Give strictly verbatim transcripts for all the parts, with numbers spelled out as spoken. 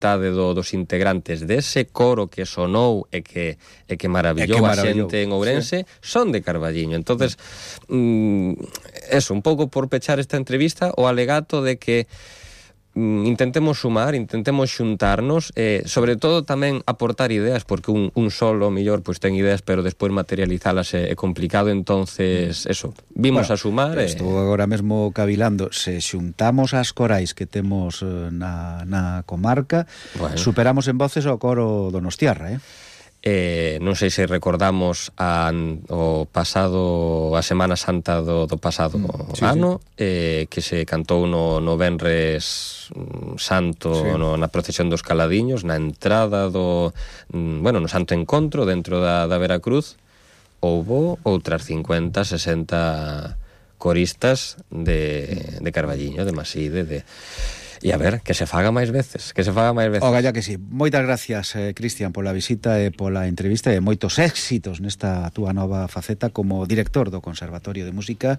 metade do, dos integrantes dese coro que sonou e que, e que maravillou a xente en Ourense, sí, son de Carballiño. Entonces, mm, eso, un pouco por pechar esta entrevista, o alegato de que intentemos sumar, intentemos xuntarnos, eh, sobre todo tamén aportar ideas, porque un, un solo, mellor, pois ten ideas, pero despois materializalas é, é complicado, entonces, eso, vimos bueno, a sumar. Estou eh... agora mesmo cavilando, se xuntamos as corais que temos na, na comarca, bueno, superamos en voces o coro donostiarra, eh? Eh, non sei se recordamos a, o pasado a Semana Santa do, do pasado mm, sí, ano sí. Eh, que se cantou no, no Venres Santo, sí, no, na procesión dos Caladiños, na entrada do, bueno, no Santo Encontro dentro da, da Veracruz. Houbo outras cincuenta, sesenta coristas de, de Carballiño, de Maside, de... E a ver, que se faga máis veces, que se faga máis veces. O galla que sí. Moitas gracias, eh, Cristian, pola visita e pola entrevista e moitos éxitos nesta túa nova faceta como director do Conservatorio de Música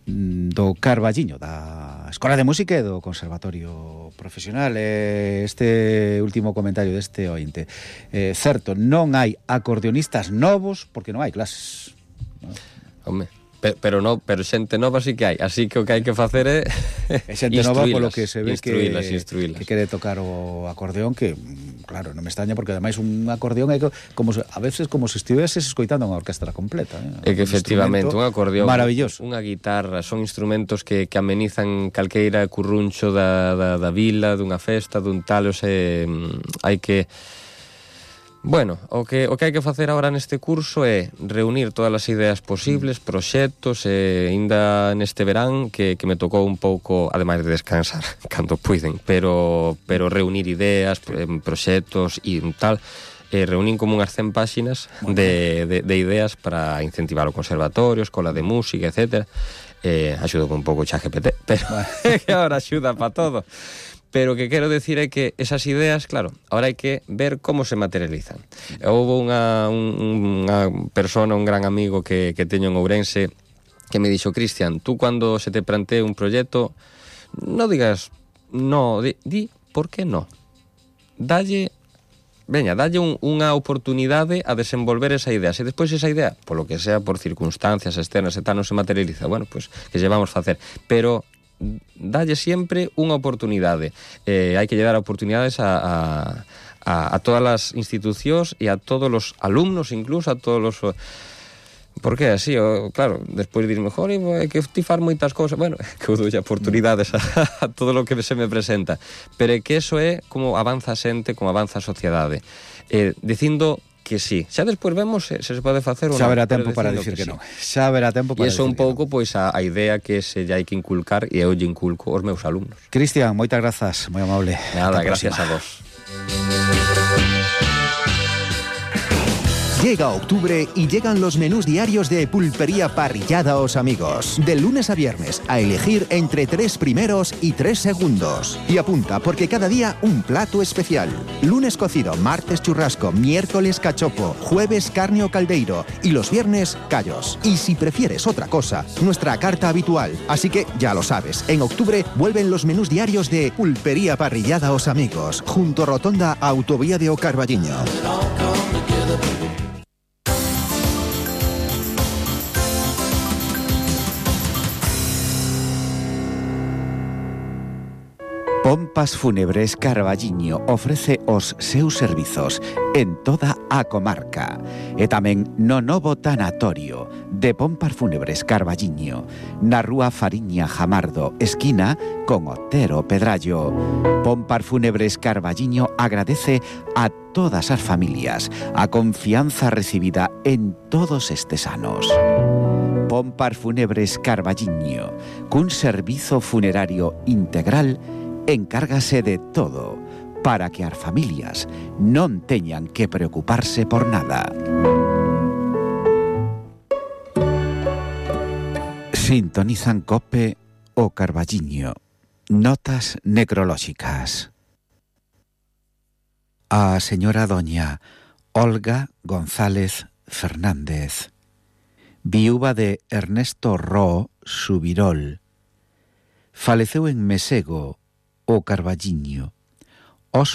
do Carballiño, da Escola de Música e do Conservatorio Profesional. E este último comentario deste ointe. Eh, certo, non hai acordeonistas novos porque non hai clases. No? Home... Pero no, pero xente nova sí que hai, así que o que hai que facer é e xente nova polo que se ve instruílas, que, instruílas. que quere tocar o acordeón, que claro, non me extraña porque ademais un acordeón é como se, a veces como se estiveses escoitando unha orquestra completa, eh? É que efectivamente un acordeón, maravilloso, unha guitarra, son instrumentos que, que amenizan calqueira curruncho da, da, da vila, dunha festa, dun tal, o se hai que... Bueno, o que, o que hai que facer agora neste curso é reunir todas as ideas posibles, proxectos, e ainda neste verán que, que me tocou un pouco, ademais de descansar cando puiden, pero, pero reunir ideas, proxectos e tal, e reunín como unhas cen páxinas de, de, de ideas para incentivar o conservatorio, escola de música, etcétera. Eh, axudo con un pouco xa G P T, pero que agora axuda para todo. Pero o que quero decir é que esas ideas, claro, ahora hai que ver como se materializan. Houve unha, un, unha persona, un gran amigo que, que teño en Ourense, que me dixo: Cristian, tú cando se te plantee un proxecto, non digas no, di, di por que no. Dalle, veña, dalle un, unha oportunidade a desenvolver esa idea. Se despois esa idea, polo que sea, por circunstancias externas e tal, non se materializa, bueno, pois pues, que lle vamos facer. Pero dalle sempre unha oportunidade. Eh, hai que lle dar oportunidades a, a, a, a todas as institucións e a todos os alumnos, incluso a todos os... Porque así, o, claro, despois dir mejor, é que ti faz moitas cousas, bueno, que eu doulle oportunidades a, a todo o que se me presenta, pero é que eso é como avanza a xente, como avanza a sociedade, eh, dicindo que sí. Xa despois vemos se, se se pode facer ou non. Xa verá tempo para dicir que, que non. Xa verá tempo para dicir que non. E iso un pouco, no. pois, a, a idea que se lle hai que inculcar, e eu lle inculco aos meus alumnos. Cristian, moitas grazas, moi amable. Nada, gracias a vos. Llega octubre y llegan los menús diarios de Pulpería Parrillada Os Amigos. De lunes a viernes, a elegir entre tres primeros y tres segundos. Y apunta, porque cada día un plato especial. Lunes cocido, martes churrasco, miércoles cachopo, jueves carne o caldeiro y los viernes callos. Y si prefieres otra cosa, nuestra carta habitual. Así que ya lo sabes, en octubre vuelven los menús diarios de Pulpería Parrillada Os Amigos, junto a Rotonda Autovía de O Carballiño. Pompas Fúnebres Carballiño ofrece os seus servizos en toda a comarca e tamén no novo tanatorio de Pompas Fúnebres Carballiño na rúa Fariña Jamardo, esquina con Otero Pedrallo. Pompas Fúnebres Carballiño agradece a todas as familias a confianza recibida en todos estes anos. Pompas Fúnebres Carballiño, cun servizo funerario integral, encárgase de todo para que as familias non teñan que preocuparse por nada. Sintonizan COPE o Carballiño. Notas necrolóxicas. A señora doña Olga González Fernández, viúva de Ernesto Ró Subirol, faleceu en Mesego, o Carballiño, os